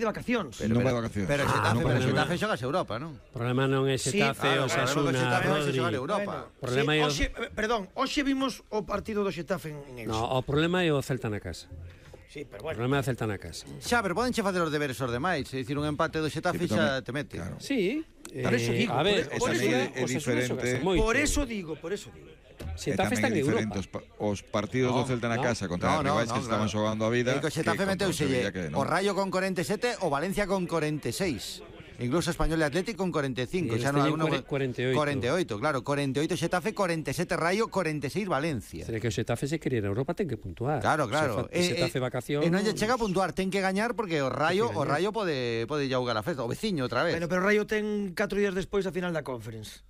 de vacacións. Non vai de vacacións. Pero o Xetafe xogas Europa, non? O problema non é Xetafe, o Osasuna, Rodri. Hoxe vimos o partido do Xetafe en Elche. No, o problema é o Celta na casa. Sí, pero O bueno. problema é o Celta na casa. Xa, pero podenche facer os deberes os demais. É dicir, un empate do Xetafe xa te mete. Claro. Sí. Por eso digo, a ver, por eso é diferente. Por eso digo. Xetafe está en Europa. Os partidos do Celta na casa contra rivais que estaban xogando a vida. E o Xetafe meteuselle o Rayo con 47, o Valencia con 46. Incluso Español e Atlético con 45. E Xa non teñen 48. 48, claro. 48 Xetafe, 47 Rayo, 46 Valencia. Será que o Xetafe se quere ir a Europa ten que puntuar. Claro. Xetafe vacacións. E non lle chega a puntuar, ten que gañar porque o Rayo pode xaugar a festa, o veciño outra vez. Bueno, pero o Rayo ten 4 días despois a final da Conference.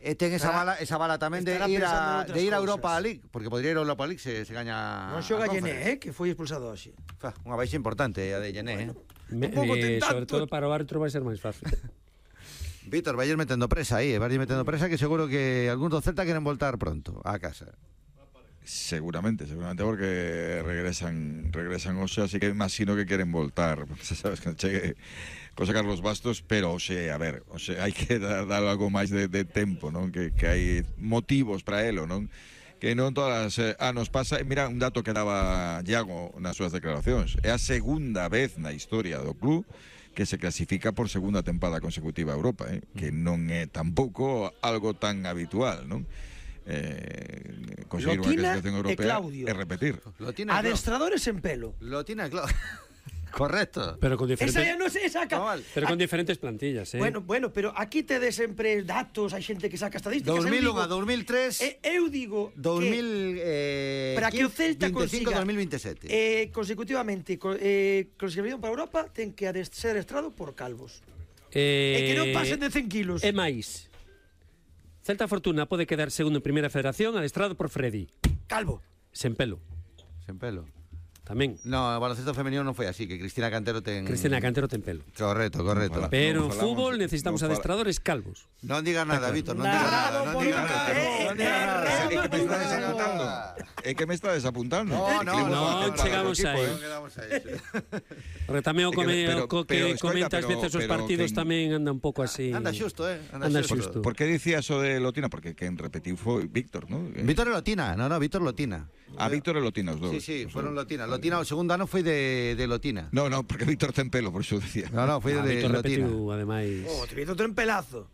E ten esa bala tamén de ir a Europa League, porque podría ir a Europa League se gaña. Non xoga Llené, que foi expulsado hoxe. Unha baixa importante a de Llené, sobre todo para o árbitro vai ser máis fácil. Víctor, vai metendo presa aí, que seguro que algúns do Celta queren voltar pronto a casa. Seguramente porque regresan hoxe, así que imagino que queren voltar. Se sabes que chegue José Carlos Bastos, pero a ver, hai que dar algo máis de tempo, non? Que hai motivos para elo, non? Que non todas as anos pasa. Mira, un dato que daba Iago nas súas declaracións. É a segunda vez na historia do club que se clasifica por segunda tempada consecutiva a Europa, que non é tampouco algo tan habitual, non? Conseguir unha clasificación europea e repetir. Adestradores en pelo. Lotina e Claudio. Correcto. Pero con diferentes, pero con diferentes plantillas, Bueno, pero aquí tedes sempre datos, hai xente que saca estadísticas. 2001 a 2003. Eu digo 2000 para que o Celta 25 consiga 2027. Consecutivamente clasificación para Europa ten que ser adestrado por calvos. E que non pasen de 100 kilos. É máis. Celta Fortuna pode quedar segundo en Primeira Federación adestrado por Freddy. Calvo. Sen pelo. Tamén. No, o baloncesto femenino non foi así, que Cristina Cantero ten pelo. Correcto. Pero en fútbol necesitamos adestradores calvos. Non diga nada, Víctor, non diga nada. É que me está desapuntando. Non chegamos aí. Porque tamén o que comenta ás veces os partidos tamén anda un pouco así. Anda xusto, Anda xusto. Por que dicía eso de Lotina? Porque quen repetiu foi Víctor, non? Víctor e Lotina, Víctor Lotina. Víctor e Lotina os dous. Sí, fueron Lotina. Lotina o segundo ano foi de Lotina. No, porque Víctor ten pelo, por iso decía. No, foi de Víctor Lotina. Repetiu, ademais. Víctor ten pelazo.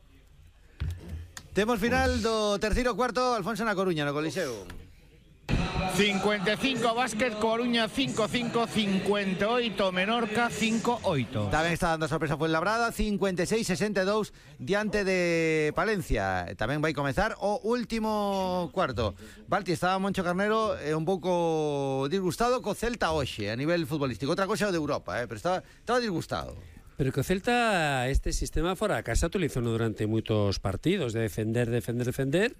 Temos final do terceiro cuarto, Alfonso na Coruña, no Coliseo. 55 Básquet, Coruña 5-5, 58 Menorca 5-8. Tamén está dando a sorpresa Fuenlabrada, 56-62 diante de Palencia. Tamén vai comezar o último cuarto. Balti, estaba Moncho Carnero un pouco disgustado co Celta hoxe a nivel futbolístico. Outra cosa é o de Europa, pero estaba disgustado. Pero que o Celta este sistema fora a casa utilizou durante moitos partidos de defender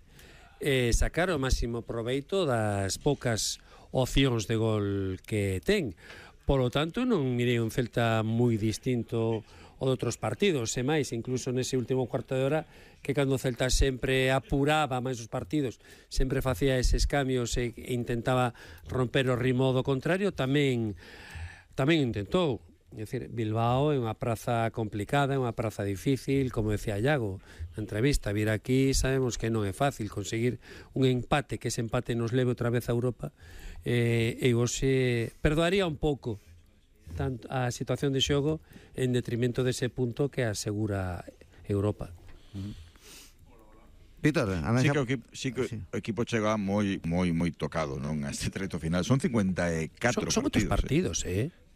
sacar o máximo proveito das poucas opcións de gol que ten. Por lo tanto, non mirei un Celta moi distinto ao de outros partidos, e máis, incluso nese último cuarto de hora, que cando o Celta sempre apuraba máis os partidos, sempre facía eses cambios e intentaba romper o ritmo do contrario, tamén intentou. É dicir, Bilbao é unha praza complicada, é unha praza difícil, como decía Iago na entrevista. Vir aquí sabemos que non é fácil conseguir un empate, que ese empate nos leve outra vez a Europa, e hoxe perdoaría un pouco tanto a situación de xogo en detrimento dese punto que asegura Europa. Víctor, sí que o equipo chega moi tocado, non, a este treto final. Son 54 partidos. Son moitos partidos,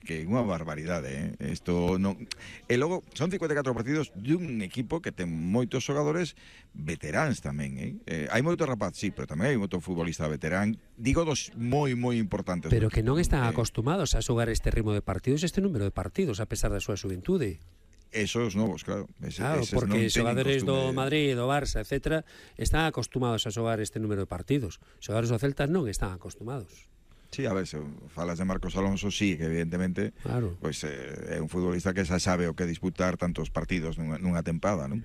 que é unha barbaridade, Isto non. E logo son 54 partidos dun equipo que ten moitos xogadores veteráns tamén, Hai moito rapaz, sí, pero tamén hai moito futbolista veterán. Digo dos moi importantes. Pero que non están acostumados a xogar este ritmo de partidos, este número de partidos, a pesar da súa xuventude. Esos novos, claro. Claro, porque xogadores do Madrid, do Barça, etc., están acostumados a xogar este número de partidos. Xogadores do Celta non están acostumados. Sí, a ver, se falas de Marcos Alonso, sí, que evidentemente pois, é un futbolista que xa sabe o que disputar tantos partidos nunha tempada, non?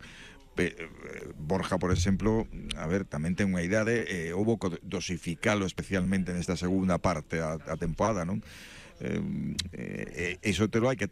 Borja, por exemplo, a ver, tamén ten unha idade, houbo que dosificalo especialmente nesta segunda parte a tempada, non? Iso te lo hai que